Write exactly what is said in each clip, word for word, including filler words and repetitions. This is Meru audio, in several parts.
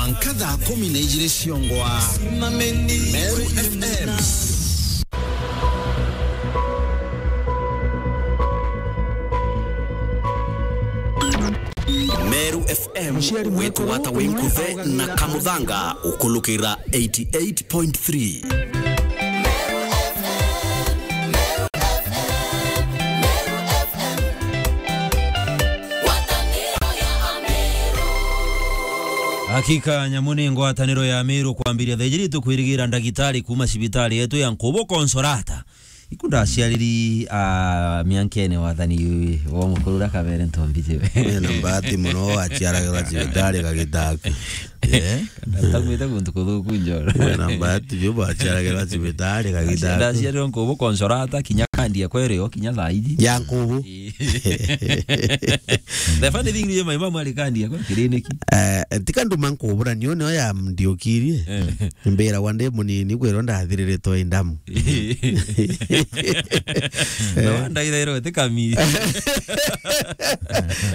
Mwanka thaa kumi na ijiri ciongwa. Meru F M. Meru F M. Muciari mwega witugwata wi nkuthe na Kamuthanga ukulukira eighty eight point three. Hakika, nyamu ni ngwataniro ya Meru kwambiria thaa ijiri, tukwirigira ndagitari kuuma cibitari yetu ya Nkubu Consolata. Iku ndaciariri, ah, miankene wathani wa mukuru uria Kabere Ntombi jiwe. Wina mbati muno, waciaragirwa cibitari Gagitaku. Eh? Ndaumite guntu kuthuku njoro. Wina mbati biu, waciaragirwa cibitari Gagitaku. Ndaciarirwe Nkubu Consolata, kinya kandi ekwa iri o, kinya thaa iji. Ya Nkubu. Ii. The funny thing ni, my mom ari kandi ekwa kiriniki. Eh, tika nduma Nkubu, na nio nio ya ndiukirie. Eh. Mbiragwa ndi munini, kwirwa ndathiriritwe i ndamu. Na wandaithairwa ti kami.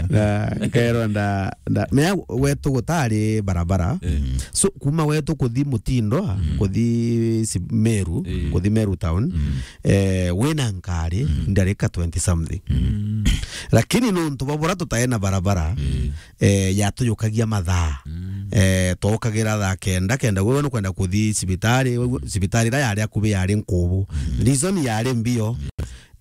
Na nkerwa nda, nda, mea wetu gutari barabara. Eh. So, kuma wetu kuthi Mutindwa, mm, kuthi si-, Meru, eh, kuthi Meru town, mm, eh, wina nkari, mm, ndarika twenty something. Mm. Lakini nontu bwa bura tutae na barabara, eh, eh, yatujukagia mathaa. Mm. Eh, twaukagira thaa kenda, kenda gwe nukwenda kuthi cibitari, we, cibitari iria yari akubi yari Nkubu. Mm. Reason yari mbio,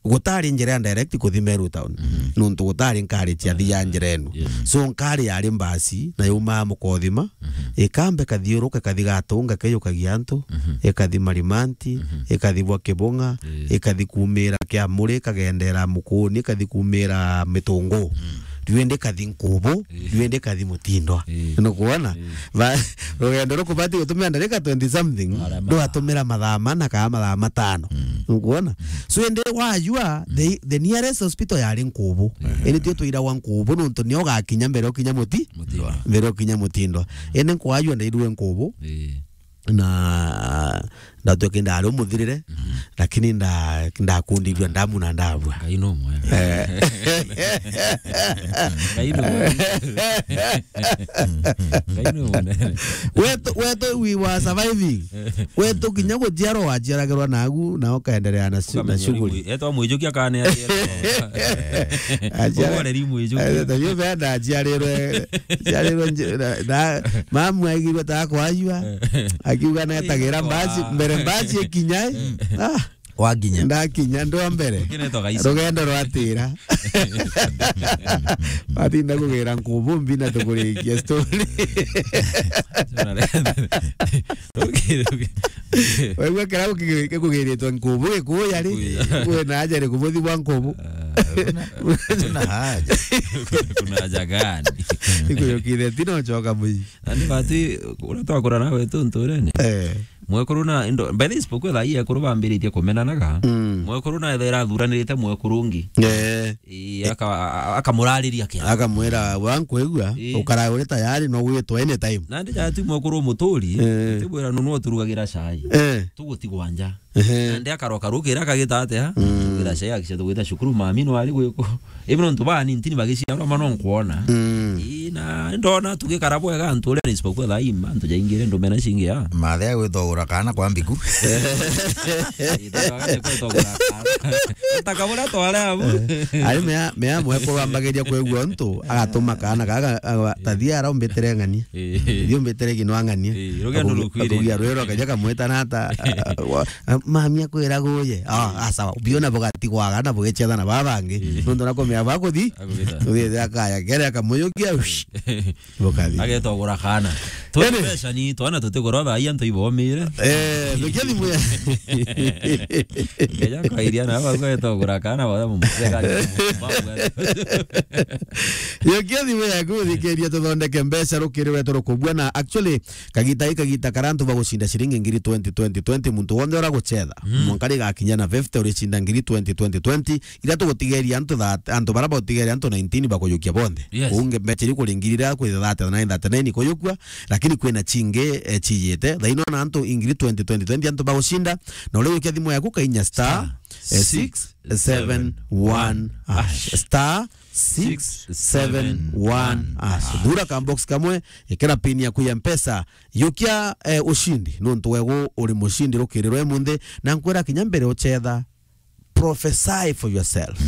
gutari njira ya direct kuthi Meru town. Mm. Nontu gutari nkari cia thia njira enu. Yeah. So nkari yari mbasi, na yaumaa Mukothima, mhm, ikamba ikathiuruka, ikathi Gatunga, ikeyukagia antu, mhm, ikathi Marimanti, mhm, ikathi bwa Kibunga, eh, ikathi kumira Kiamuri, ikagendera Mukuni, ikathi kumira Mitungu. Mm. Riu indi ikathi Nkubu, eh, riu indi ikathi Mutindwa. Eh. Nukwona? Eh. Ba-, rugendo rukubati gutumira ndarika twenty something, ndwatumira mathaa mana kana mathaa matano. Mm. Nukwona? Mm. So indi wajua, the, the nearest hospital yari Nkubu. Eh. Indi tio twiragwa Nkubu, nontu nio ugakinya mbere ukinya Muti-, Mutindwa, mbere ukinya Mutindwa. Indi nkwajua ndairue Nkubu. Eh. Na ndatwika ndari umuthirire, mhm, lakini nda-, ndakundirua ndamu na ndabua. Ngai no mwega. Eh. Ngai no mwega. Ngai no mwega. Wetu, wetu we were surviving. Wetu kinya guciarwa waciaragirwa nagu, na ukaendelea na su-, na shughuli. Ukamenya uri mwi-, etwa mwijukia kana aciarwa. Aciara-, uboreri mwijukia. Eh, ta yu benda aciarirwe, aciarirwe nje-, na, na, mamu aigirwe ta kwajua. Eh. Akiuga netagira mbaci, mbere mbaci ikinya, eh. Mm. Ah. Wakinya. Ndakinya ndwa mbere. Ukinetwa gaisi. Rugendo rwatira. Batinda kugira Nkubu mbi na tukurikia story. Waigua kira guki-, gikugiritwe Nkubu Gikuyu ari, Gikuyu. Kwina aja ri kubuthi bwa Nkubu. Ah, kuna, kuna haja. Kuna haja gani? Ikuyukire tino choka mwi. Nandi bati, uria twakura nawe tu nturene. Eh. Mwekuru na indo, by the way, isipokuwa thaa hii ekuru bambiritie kumenanaga. Mm. Mwekuru na ethera athuranirite mwekuru ungi. Eh. Ii, aka-, a-, akamurariria kia. Akamwira, "Wa nkwigua, ii, ukarae uri tayari, no gwitwa anytime." Nandi jati mwekuru muturi, eh, tibwira nunu oturugagira chai. Eh. Tugutigwa nja. Ehe. Nandi akaroka rukira akagita atia? Mm. Tugira chai akicha tugwita cukuru, mami no ari gwiku. Even ntu bani ntini bagiciarwa ma no nkwona. Mm. Ii, na ndona tugikara bwega antu uria, isipokuwa thaa ii antu jaingire ndumena cingi ya. Mathe agwitogura kana kwa mbiku. Ii, thaa ii kwitogura kana. Taka buria tware abu. Eh. Ari mea, mea mwekuru ambagiria kwigua untu, agatuma kana gaga, aga-, tathia ara umbitire ng'ania. Ii. Thi umbitire ginwa ng'ania. Ii, rugendo rukwire. Akugia rwiro kaja kamwita nata, wa-, Ah, mami akwira guye. Ah, ah, sawa. Biona bugatigwaga na bugecetha na baba bangi. Ii. Nontu na kumenya bakuthi. Agwita. Uthithira kaya kere akamuyukia, ush. Bukathi. Agetogura kana. Ene. Twa mbeca ni twana tutigura thaa ii antu ibomire. Eh, ndukia thimu ya. Ngeja kwairia na baba agetogura kana, baba mumutega. Yokia thimu yaku uthikiria tuthondeke mbeca rukiri rwetu rukubua na actually Kagita i kagita karia antu bagucinda ciringi ngiri twenty, twenty, twenty, muntu wonthe uragucetha. Mm. Mwanka rigakinya na fifty, uricinda ngiri twenty, twenty, twenty, iria tugutigeria antu that-, antu baria bautigeria antu nineteen bakujukia bonthe. Yes. Unge mbeca iri kuri ngiri iria kwi thirty-nine, thirty-nine ikuyukua, Lakini kwina chingi, eh, chiyite. Thaino na antu ingiri twenty, twenty, twenty antu bagushinda. Na uria wikia thimu yaku kainya star, eh, six seven one hash. Star six seven one hash. Thura ka box kamwe, ikira pin yaku ya Mpesa. Yukia, eh, ushindi. Nontu wegu uri mushindi rukiri rwe munthi. Na nkwira kinya mbere uchetha, prophesy for yourself.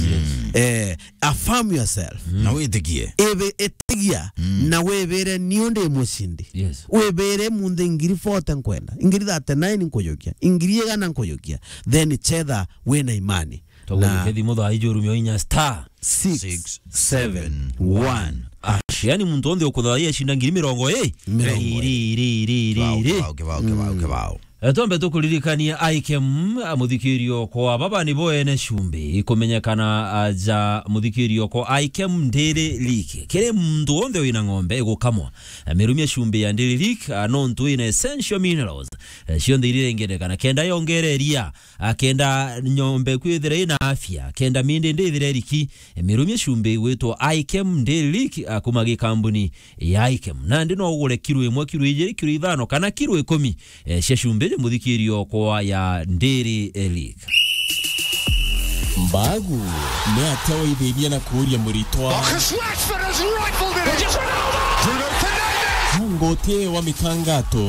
Eh, affirm yourself. Na witikie. Ebe etigia na webere ni undi mushindi. Yes. Webere munthi ngiri forty nkwenda, ngiri thirty-nine nkujukia, ngiri igana nkujukia. Then chetha wina imani. Togwe na kethimo thaa ijuru mio inya star six seven one hash. Yani muntu onthe ukuthaia shinda ngiri mirongo iri. Mirongo iri. Iri, iri, iri, iri. Kibao, kibao, kibao, kibao, kibao. Eh, twambe tukuririkania Ikem, ah, muthikirio kwa baba ni bo ene cumbi, ikumenyekana, ah, ja muthikirio kwa Ikem Dairy Leak. Kiri muntu wonthe wina ng'ombe igukamwa, ah, mirumia cumbi ya Dairy Leak, ah, nontu ina essential minerals, eh, cionthe iria irengendekana kenda yongere iria, ah, kenda ng'ombe kwithira ina afya, kenda mindi ndi ithire riki, eh, mirumia cumbi gwitwa Ikem Dairy Leak, ah, kuma gikambuni ya Ikem. Nandi no ugure kiro imwe, kiro ijiri, kiro ithano, kana kiro ikumi, eh, cia cumbi, muthikirio kwa ya Dairy Leak. Mbagu, ni atia waithithia na kuuria muritwa? Marcus Rashford has rifled it in. Bruno Fernandes. Ngoti wa mitangato.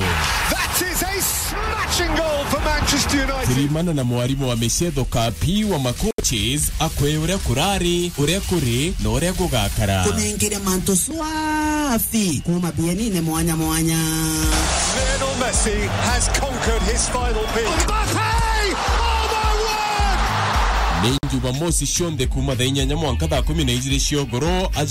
That is a smashing goal for Manchester United. Tirimana na mwarimu wa micetho Kapi wa makoches, akwe uria kurari, uria kuri, na uria gugakara. Kunengere mantu swafi kuma bienine mwanya mwanya. Lionel Messi has conquered his final peak. Mbappe! Oh my word! Ni Jumamosi cionthe kuma thaa inyanya mwanka thaa kumi na ijiri cia ugoro, aja